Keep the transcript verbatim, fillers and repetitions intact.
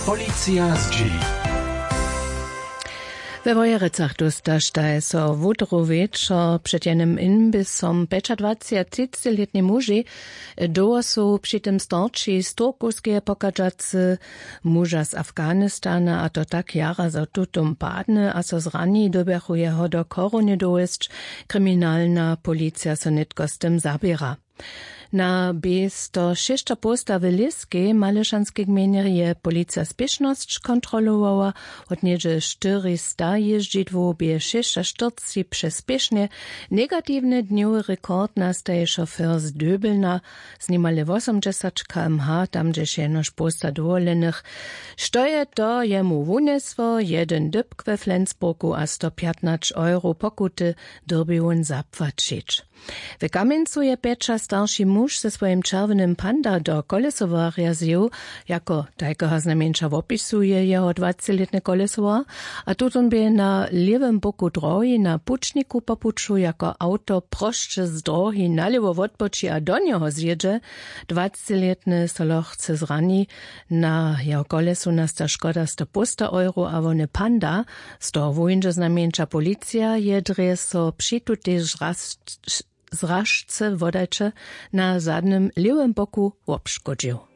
Policija zdźěli. We Wojerecach dóstaštaj so wutru wječor před jenym imbisom pjećadwaceći a třicećilětni muži. Dołho su při tym starći z Turkowskeje pochadźacy muža z Afghanistana, a to tak jara, zo tutom padny a so zrani, dyrbjachu jeho do chorownje dowjesć. Kriminalna policija so nětko z tym zaběra. Na bě sto šěsćapołsta w Lěskej, Malyšanskej gmejnje, je policija spěšnosć kontrolowała. Wot něhdźe štyrista jězdźidłow bě šěsćaštyrceći přespěšnje. Negatiwny dnjowy rekord nastaje šofér z Döbelna z nimale wosomdźesać km/h, tam hdźež jenož połsta dowoljenych. Što je to jemu wunjesło? Jedyn dypk we Flensburgu a sto pjatnaće euro pokuty dyrbi wón zapłaćić. W Kamjencu je pjećastarši muž ze swojim čerwjenym Panda do kolesowarja zjěł. Jako tajkeho znajmjeńša wopisuje jeho dwacećilětny kolesowar. A tutón bě na lěwym boku drohi na pućniku po puću jako awto prosće z drohi nalěwo wotboči a do njeho zjědźe. Dwacećilětny so lochce zrani. Na jeho kolesu nasta škoda sto połsta euro a wony Panda. Z toho wuwińdźe znajmjeńša policija, je drje so při tutej zražce wodajće na zadnym lěwym boku wobškodźił.